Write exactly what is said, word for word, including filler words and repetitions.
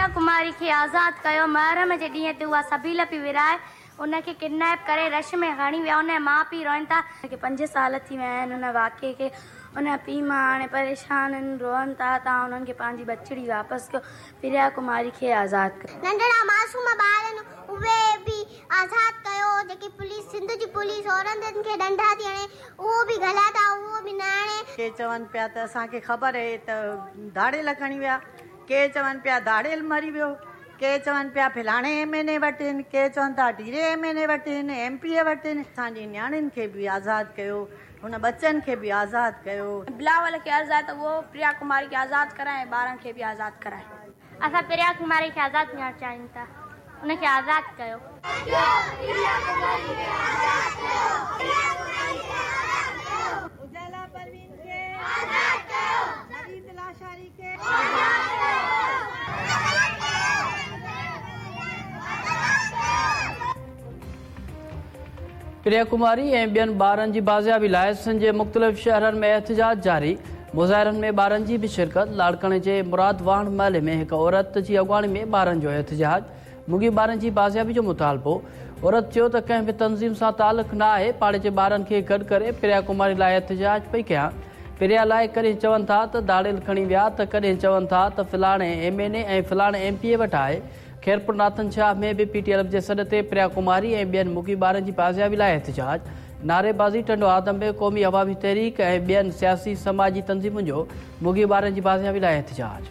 پريا ڪماري کي آزاد ڪيو. محرم جي ڏينهن تي اها سبيل پي ورهائي ان کي ڪڊنيپ ڪري رش ۾ کڻي ويا. ان جا ماءُ پيءُ روئن ٿا. پنج سال ٿي ويا آهن ان واقعي کي. ان جا پيءُ ماءُ هاڻي پريشان آهن، روئن ٿا. توهان انهن کي پنهنجي ٻچڙي واپس ڪيو، پريا ڪماري کي آزاد ڪيو. ننڍڙا معصوم ٻار آهن اهي به آزاد ڪيو. جيڪي پوليس، سنڌ جي پوليس عورتن کي ڏنڊا ٿي هڻي اهو به غلط آهي، اهو به نه هڻي. ڪي چون پيا ته اسان کي خبر آهي ته ڌاڙيل کڻي ويا، ڪي چون پيا ڌاڙيل مري ويو، ڪي چون پيا فلاڻي ايم اين اي وٽ آهن، ڪي چون ٿا ڊيري ايم اين اي وٽ آهن، ايم پي اي وٽ آهن. اسان جي نياڻين کي به آزاد ڪيو، هن ٻچن کي به آزاد ڪيو. بلاول کي آزاد ته اهو پريا ڪماري کي آزاد ڪرائي ۽ ٻارن کي به آزاد ڪرائي. اسان پريا ڪماري کي آزاد ڪرڻ چاهيون ٿا، ان کي آزاد ڪيو. اجالا پروين کي آزاد ڪيو، نويد لاشاري کي آزاد ڪيو. پريا ڪماري ऐं ॿियनि ॿारनि जी बाज़ियाबी लाइ सिंध जे मुख़्तलिफ़ शहरनि में एहतजाज जारी। मुज़ाहिरनि में ॿारनि जी बि शिरकत। लाड़काणे जे मुराद वाहण महले में हिकु औरत जी अॻुवाणी में ॿारनि जो एहतजाज। मुगी ॿारनि जी बाज़ियाबी जो मुतालबो। औरत चयो त कंहिं बि तंज़ीम सां तालुक़ न आहे, पाड़े जे ॿारनि खे गॾु करे प्रिया कुमारी लाइ एहतजाज पई कयां। प्रिया लाइ कॾहिं चवनि था त धाड़ेल खणी विया त कॾहिं चवनि था त फलाणे एम एन ए ऐं फलाणे एम पी ए वटि आहे। खैरपुर नाथन शाह में बि पी टी एल जे सॾ ते प्रिया कुमारी ऐं ॿियनि मुगी ॿारनि जी बाज़ियाबी लाइ एहतजाज। नारेबाज़ी टंडो आदम में क़ौमी अवामी तहरीक ऐं ॿियनि सियासी समाजी तंज़ीमुनि जो मुगी ॿारनि जी बाज़ियाबी लाइ एहतजाज।